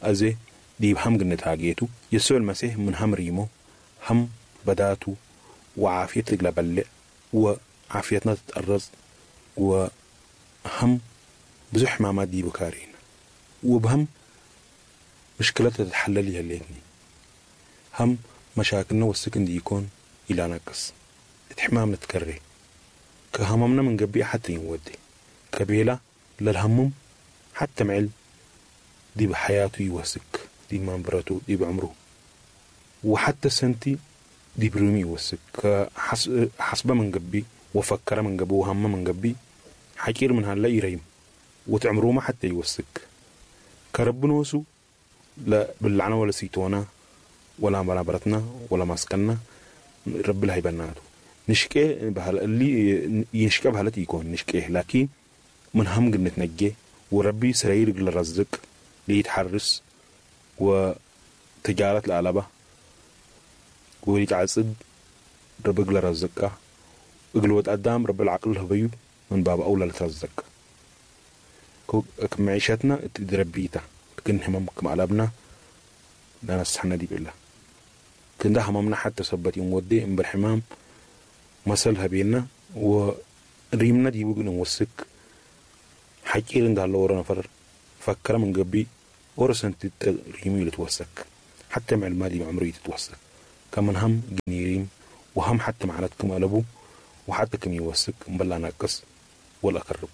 أزي ديب هم قنتاقيتو يسوع المسيح من هم ريمو هم بداتو وعافيتك لبلع وعافيتنا تتأرز وهم بزح حمامات دي بكارين وبهم مشكلتها تتحلل يهليتني هم مشاكلنا والسكن دي يكون إلى نقص اتحمام نتكري كهممنا من قبي حتى ينودي كبيلة للهمم حتى معل دي بحياته يوسك دي منبرته دي بعمره وحتى سنتي دي برمي يوسك حسب من قبي وفكر من قبي وهم من قبي حكير من هلا يريم وتعمره ما حتى يوسك كرب نوسو لا باللعنة ولا سيتونا ولا منابرتنا ولا مسكننا رب لها يبناتو نشكي بهال اللي ينشكي بهالتي يكون نشكيه لكن من هم قد نتنجي وربي سرير للرزق ليتحرس وتجارة العلبة وليتعصد رب لرزقه اقلوت قدام رب العقل هبيو من باب أولى لترزق معيشتنا تدربيتا كن همم كم قلبنا لا نسحنا دي بالله كن ده هممنا حتى سبت يوم ودي ام بالحمام مسلها بينا وريمنا دي بقنا نوسك حكير عند هالورا نفر فكر من قبي ورسنت ريمي لتوسك حتى مع المادي عمري تتوسك كمن هم جنيريم وهم حتى معناتكم قلبو وحتى كم يوسك مبلا ناقص ولا قرب.